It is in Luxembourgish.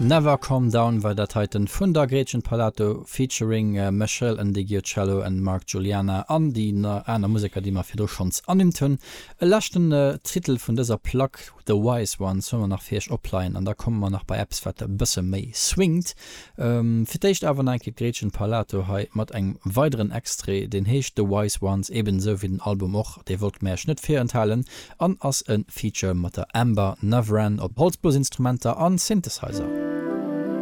Never Calm Down war dat heiten vun der Gretchen Parlato featuring Meshell Ndegeocello and Mark Guiliana an déi aner Museker déi mer virdru schonns ernimmt hunn. E leschten Titel vun dëser Plack, The Wise Ones, hu mer nach fir iech opleien an da komme mer nach bei eppes wat e bësse méi swingt. Fir d'éischt awer nach eng Kéier d'Gretchen Parlato hei mat engem weideren Extrait, deen heescht The Wise Ones, eben esou wéi den Album och, dee wollte mer iech net virenthalen an ass e Feature mat der Amber Navran op Holzblosinstrumenter an Synthesizer.